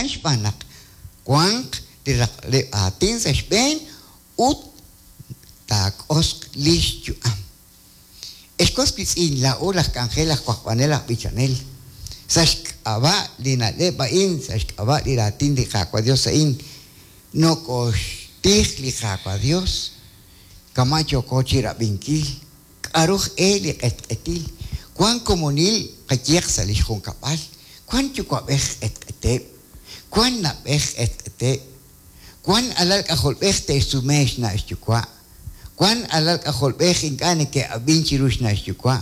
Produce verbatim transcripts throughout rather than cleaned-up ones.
jo'kan xb'aan naq wanq li raqleb' aatin sa' xb'een ut taak'osq li xyu'am. Ex was wiitz'in, laa'o laj k'anjel, laj wajb'anel, aj b'ichanel, sa' xk'ab'a' li na'leb' a'in, sa' xk'ab'a' li raatin li Qaawa' Dios a'in, nokoxtij li Qaawa' Dios kama' yooko chi rab'inkil k'aruj e li q'etq'etil, wank komonil qayehaq sa' li xjunkab'al, wank yuwa'b'ej q'etq'eteb', wank na'b'ej q'etq'eteb', wank alal k'ajolb'ej te'xsume xna' xyuwa', wank alal k'ajolb'ej ink'a' neke'ab'in chiru xna' xyuwa',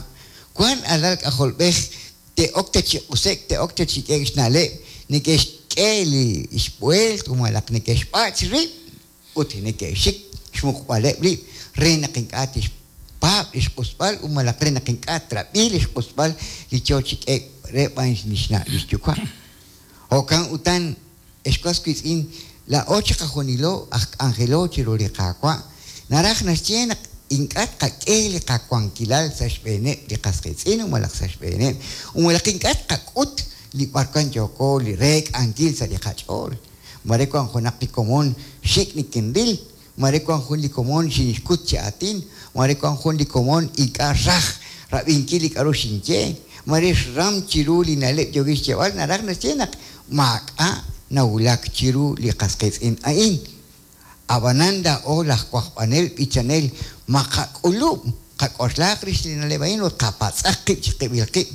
wank alal k'ajolb'ej te'ok ta chi q'usek, te'ok ta chi k'eek xna'leb', neke'xk'e li xb'ueelt malaj neke'xb'ach rib' ut neke'xik xmuqb'aleb' rib' re naq ink'a' tixpaab' li xq'usb'al ut malaj re naq ink'a' trab'i li xq'usb'al li yo chi k'eek re b'an li xna' li xyuwa'. Jo'kan utan, ex was wiitz'in, laa'o chiqajunilo aj k'anjelo chiru li Qaawa', naraj naxye naq ink'a' tqak'e li qawankilal sa' xb'eeneb' li qas qiitz'in malaj sa' xb'eeneb', ut malaj ink'a' tqak'ut li b'arwan yooko li reek'ankil sa' li qach'ool. Mare wank junaq li komon xik' nikinril, mare wank jun li komon xinxkut chi aatin, mare wank jun li komon ink'a' raj rab'inkil li k'aru xinye, mare xram chiru li na'leb' yookin xyeeb'al, naraj naxye naq maak'a' nawulak chiru li qas qiitz'in a'in. Ab'anan laa'o laj wajb'anel b'ichanel maqak'ulub' qak'oxlaaq rix li na'leb' a'in ut qapatz'aq qib' chiqib'il qib',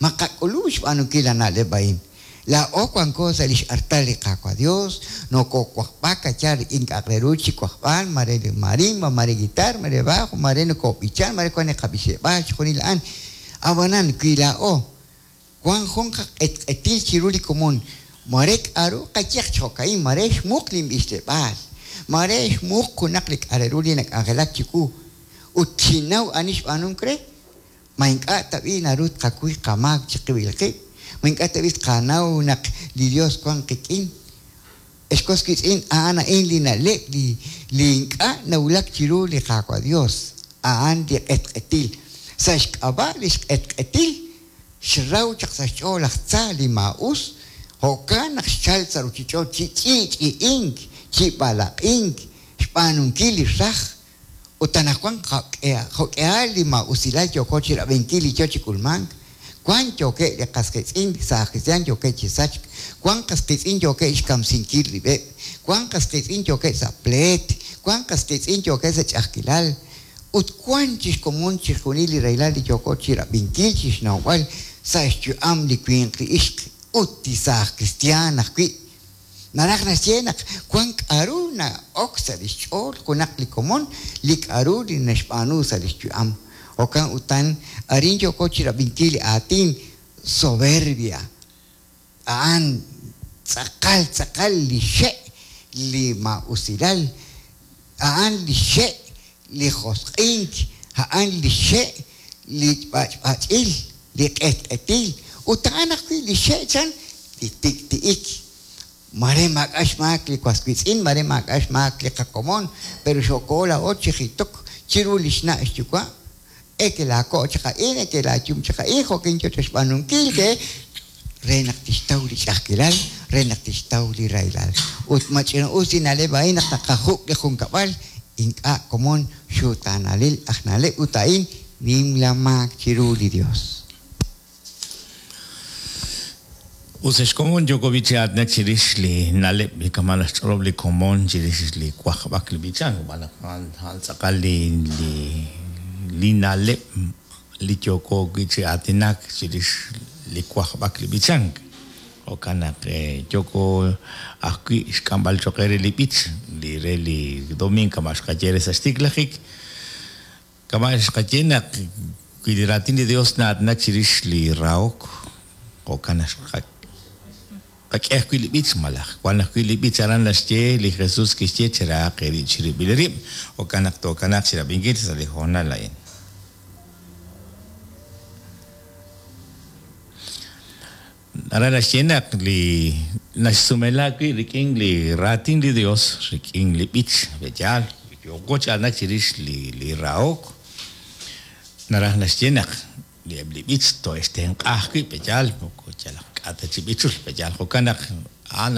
maqak'ulub' xb'aanunkil la na'leb' a'in. Laa'o wanko sa' li xartal li Qaawa' Dios, nokowajb'ak kachar rik'in k'a'aq re ru chi wajb'al, mare li marimba, mare guitar, mare bajo, mare nokob'ichan, mare wank li qab'ixeb'aal chixjunil a'an. Ab'anan wi laa'o wank jun qaq'etq'etil chiru li komon, mare k'aru qayehaq chi jo'ka'in, mare xmuq linb'ixleb'aal, mare xmuq junaq li k'a' re ru li nak'anjelak chiwu ut xinnaw ani xb'aanunk re, ma ink'a' tab'i naru tqakuy qamaak chiqib'il qib', ma ink'a' tab'i tqanaw naq li Dios wank qik'in. Ex was wiitz'in, a'an a'in li na'leb' li li ink'a' nawulak chiru li Qaawa' Dios, a'an li q'etq'etil. Sa' xk'ab'a' li xq'etq'etil xraw chaq sa' xch'ool laj tza li maa'us, jo'kan naq xchal sa' ruchich'och' chi ch'i'ch'i'ink, chi b'alaq'ink, xb'aanunkil li raj. Ut anaqwan jo'k'ihal li maa'usilal yooko chi rab'inkil li yo chi k'ulmank, wank yookeb' li qas qiitz'in sa' kristiaan yookeb' chi sachk, wank qas qiitz'in yookeb' xkamsinkil rib'eb', wank qas qiitz'in yookeb' sa' pleet, wank qas qiitz'in yookeb' sa' ch'a'ajkilal, ut wank chi xkomon chixjunil li rahilal li yooko chi rab'inkil chi xnawb'al sa' xyu'am li winq li ixq ut li saaj kristiaan ajwi'. Naraj naxye naq wank k'aru na'ok sa' li xch'ool junaq li komon li k'aru li naxb'aanu sa' li xyu'am. Jo'kan utan arin yooko chi rab'inkil li aatin soberbia, a'an tz'aqal tz'aqal li xe' li maa'usilal, a'an li xe' li josq'ink, a'an li xe' li b'ach'b'ach'il, li q'etq'etil, ut a'an ajwi' li xe' chan li tik'ti'ik. Mare maak'a' xmaak li was wiitz'in, mare maak'a' xmaak li qakomon, pero xoko laa'o chi jitok chiru li xna' xyuwa', eke laako' chaq a'in, eke laayum chaq a'in, jo'kin yo xb'aanunkil ke re naq tixtaw li ch'a'ajkilal, re naq tixtaw li rahilal. Ut mach'ina'us li na'leb' a'in naq naqajuk' li junkab'al, ink'a' komon xutaanalil aj na'leb' ut a'in nimla maak chiru li Dios. Us ex komon yooko b'ichaatnak chirix li na'leb' li kama' naxch'olob' li komon chirix li wajb'ak li b'ichank, xb'aan naq a'an tz'aqal li li li na'leb' li yooko wi' chi aatinak chirix li wajb'ak li b'ichank. Jo'kan naq yooko ajwi' xk'amb'al choq' re li b'ich li re li domingo kama' xqaye re sa' xtiklajik, kama' xqaye naq wi li raatin li Dios na'aatinak chirix li rahok, jo'kan naq qak'e ajwi' li b'ich malaj wan ajwi' li b'ich aran naxye li Jesus kixye cherahaq eerib' chirib'il rib', jo'kan naq tookanaaq chirab'inkil sa' li hoonal a'in. Aran naxye naq li naxsumela wi' rik'in li raatin li Dios, rik'in li b'ich, b'eyaal, yooko chi aatinak chirix li li rahok, naraj naxye naq li eb' li b'ich to'extenq'a ajwi' b'eyaal, moko yalaq k'a' ta chi b'ichul, b'eyaal jo'kan naq a'an